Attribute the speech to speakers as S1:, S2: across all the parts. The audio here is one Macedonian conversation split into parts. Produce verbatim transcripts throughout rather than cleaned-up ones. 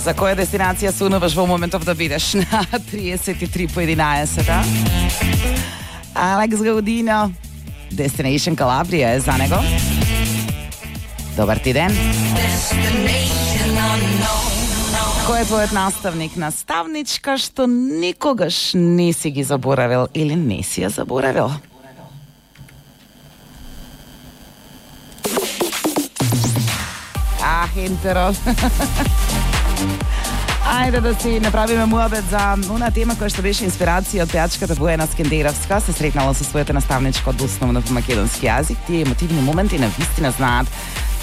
S1: За која дестинација сонуваш во моментов да бидеш на триесет и три по единаесет? Алекс Гаудино, Destination Calabria е за него. Добар ти ден. Кој е твојот наставник, наставничка што никогаш не си ги заборавил или не си ја заборавил? А, хентеро. Ајде да си направиме муабет за она тема која што беше инспирација од пејачката Бојана Скендеровска. Се сретнала со својата наставничка од основно по македонски јазик. Тие емотивни моменти на вистина знаат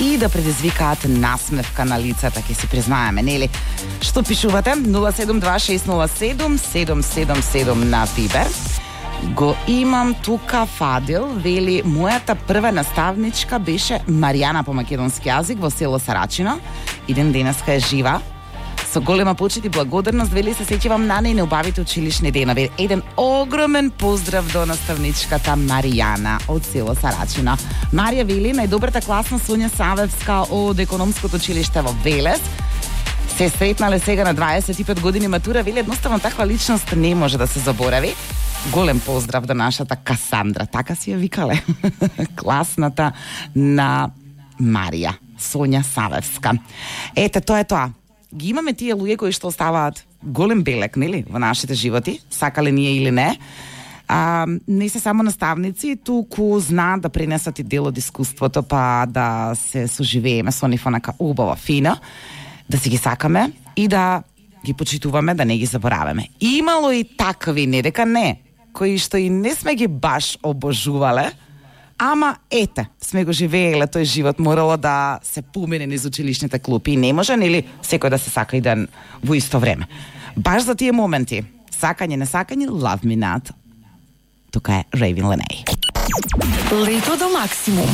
S1: и да предизвикаат насмевка на лицата, ќе си признаеме, нели? Што пишувате? нула седум два шест нула седум седум седум седум на Вибер. Го имам тука Фадил, вели, мојата прва наставничка беше Маријана по македонски јазик во село Сарачино. Иден денеска е жива. Со голема почит и благодарност, вели, се сеќавам на најубавите училишни денови. Еден огромен поздрав до наставничката Маријана од село Сарачино. Марија вели, најдобрата класна Сонја Савевска од економското училиште во Велес. Се сретнале сега на дваесет и пет години матура, вели, едноставно таква личност не може да се заборави. Голем поздрав до нашата Касандра, така си ја викале. Класната на Марија, Сонја Савевска. Ете, тоа е тоа. Ги имаме тие луѓе кои што оставаат голем белек, нели, во нашите животи, сакале ние или не. А, не се само наставници, туку знаат да пренесат и дел од искуството, па да се соживееме со нив онака убава, фина, да си ги сакаме и да ги почитуваме, да не ги забораваме. Имало и такви, не дека не, кои што и не сме ги баш обожувале, ама ете, сме го живееле тој живот, морало да се помине низ училишните клупи и не може, нели, секој да се сака и ден во исто време. Баш за тие моменти, сакање, не сакање, love me not. Тука е Raven Lenay.
S2: Лето до максимум.